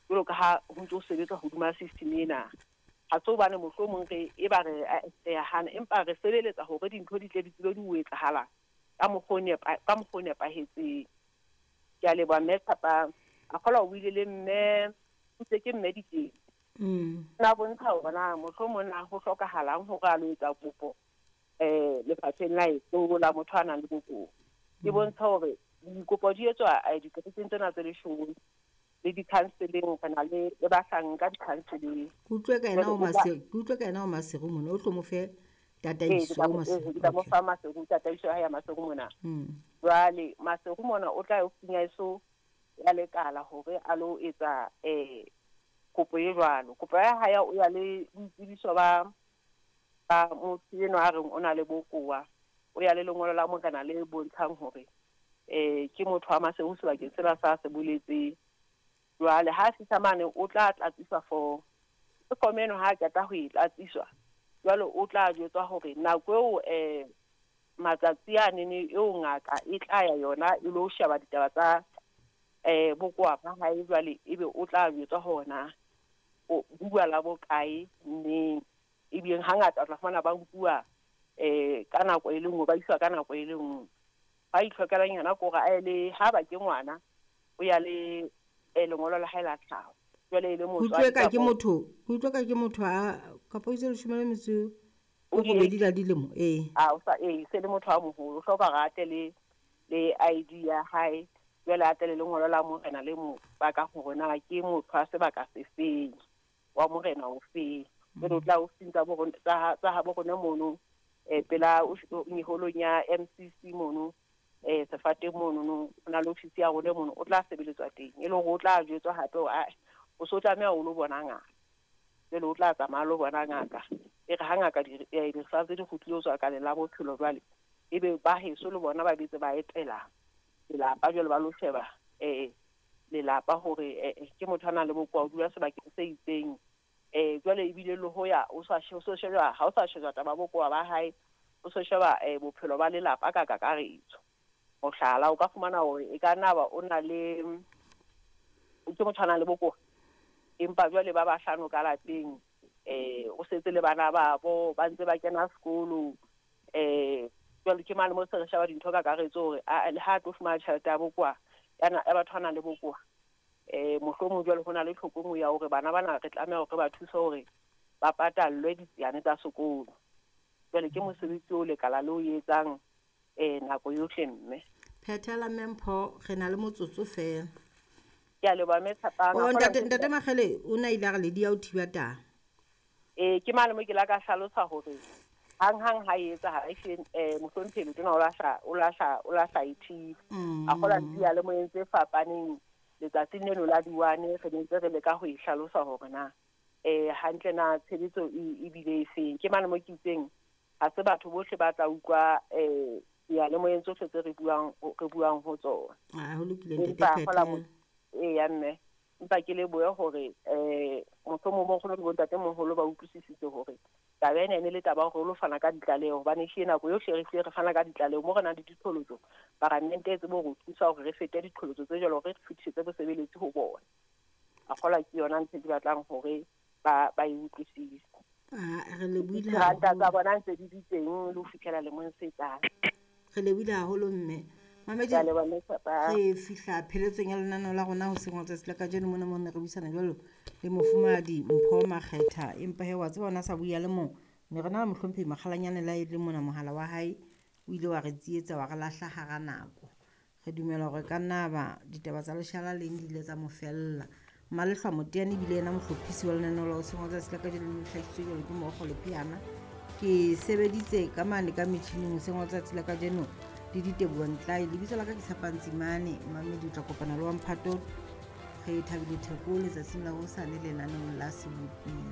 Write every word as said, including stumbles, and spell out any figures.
Jwalo ka ha ho ntso sebetswa hodima system ena. Ha se hobane mohlomong re e ba re re a hana, empa re sebeletsa hore dintho di tle di tsebe di ho etsahala ka mokgwa o nepa ka mokgwa o nepahetseng. Ke a leboha mme Tshapang. A kgolwa o buile le mme ntse ke mme Dikeng. Mm. Na bontsha hore na mohlomong na ho hlokahalang hore a lo etsa kopo eh lefapheng la heso la motho a nang le bokowa. Ke bontsha hore dikopo di etswa dikerekeng tsena tse leshome le di-counseling, re na le le bahlanka di-counseling. Ke utlwe ka ena o Maseru, ke utlwe ka ena o Maseru mona, o tlo mo fe tataiso o Maseru. Ke tla mo fa Maseru tataiso ya hae ya Maseru mona. Jwale Maseru mona o tla ya ofising ya heso ya lekala hore a lo etsa eh kopo e jwalo. Kopo ya hae o ya le boitsebiso ba ba motho enwa a reng o na le bokowa, o ya le lengolo la morena le bontshang hore eh ke motho wa Maseru sebakeng sena sa se boletseng. Jwale ha fihla mane o tla tlatsiswa form. Form eno ha qeta ho e tlatsiswa, jwale o tla jwetswa hore nako eo eh matsatsi a nene eo ngaka e tla ya yona e lo sheba ditaba tsa eh bokowa ba hae, jwale ebe o tla jwetswa hore na o bua la bokae neng. Ebile hangata o tla fumana ba nkuwa eh ka nako e le nngwe, ba iswa ka nako e le nngwe. Ba itlhokelang yona ke hore a ye le ha ba ke ngwana, o ya le eh lengolo la hae la tlhaho. Jwale e le Ke utlwe ka ke motho, ke utlwe ka ke motho a kapa o itse leshome le metso o robedi la dilemo, ee. A o sa ee, se le motho a moholo, o hloka hore a tle le le I D ya hae, jwale a tle le lengolo la morena le mo paka hore na ke motho wa sebaka se feng, wa morena o feng. Jwale o tla ofising tsa bo rona, tsa tsa habo rona mono, eh pela meholong ya M C C mono, eh sefateng mono no, ho na le ofisi ya rona mono, o tla sebeletswa teng. E le hore o tla jwetswa hape hore ae, o so tlameha o lo bona ngaka. Jwale o tla tsamaya lo bona ngaka. E re ha ngaka di di-results di kgutlile ho tswa kaleng la bophelo jwale, ebe ba heso le bona ba betse ba etela lelapa, jwale ba lo sheba eh lelapa hore eh ke motho a nang le bokowa, o dula sebakeng se itseng. Eh jwale ebile le ho ya o sa o so sheba, ha o sa sheba taba bokowa ba hae, o so sheba eh bophelo ba lelapa ka kakaretso. Mohlala, o ka fumana hore e ka nna ba o na le, ke motho a nang le bokowa, empa jwale ba bahlano ka lapeng, eh o setse le bana babo ba ntse ba kena sekolo, eh jwale ke mane mo se re sheba dintho ka kakaretso hore a le ha tlo fumana tjhelete ya bokowa, ya na, ya batho ba nang le bokowa, eh mohlomong jwale ho na le tlhoko ya hore bana bana re tlameha hore ba thuse hore ba patallwe ditsiane tsa sekolo. Jwale ke mosebetsi o lekala le o etsang eh nako yohle mme. Phethela Mpho, re na le motsotso feela. Ke a leboha mme Tshapang. Oh, ntate, ntate Makgele o na ile a re le dia o thiba taba. Eh ke mane mo ke la ka hlalosa hore hang hang ha e etsahala, ehlile eh mohlomphehi Letona o lahla, o lahla, o lahla e thiba. A kgola dia le moyeng tse fapaneng letsatsing leno la diwane, re ntse re leka ho e hlalosa hore na eh hantle na tshebetso e bile e feng. Ke mane mo ke itseng ha se batho bohle ba tla utlwa eh diyalemoyeng tsohle tse re buang, re buang ho tsona. Ah, ho lokile ntate Empa Phethela. hola mo-, ee, ya mme. Empa ke lebohe hore eh mohlomong bo nkgono le bontate moholo ba utlwisisitse hore taba ena e ne le taba ya hore o lo fana ka ditlaleho, hobane ehlile nako yohle re hlile re fana ka ditlaleho mo re nang le diqholotso, paramente e tsebe hore o thusa hore re fete diqholotso tse jwalo, hore re fetisetse bosebeletsi ho bona. A kgolwa ke yona ntho e ke batlang hore ba, ba e utlwisise. Ah, re lebohile Diranta tsa haholo. bona ntse di di teng le ho fihlela lemong se tlang. Re lebohile haholo mme. Mamedi, Ke a leboha mme Tshapang. re fihla pheletsong ya lenaneo la rona hoseng wa tsatsi la kajeno mona mo ne re buisana jwalo le mofumahadi Mpho Makgetha. Empa he wa tseba ona sa bua le mong, ne re na le mohlomphehi Makgalanyane la e le mona mohala wa hae o ile wa re tsietsa wa re lahla hara nako. Re dumela hore ka nna ba ditaba tsa leshala leng di ile tsa mo fella. Malehlwa Moteane ebile yena mohlophisi wa lenaneo la hoseng wa tsatsi la kajeno le hlahisitswe jwalo ke Mookgo Lepheana. Ke sebeditse ka mane ka metjhining hoseng wa tsatsi la kajeno le Diteboho Ntlae. Lebitso la ka ke Tshepang Tsimane. Mamedi o tla kopana le wa Mphato. Re thabile Theko letsatsing la hosane lenaneong la Seboping.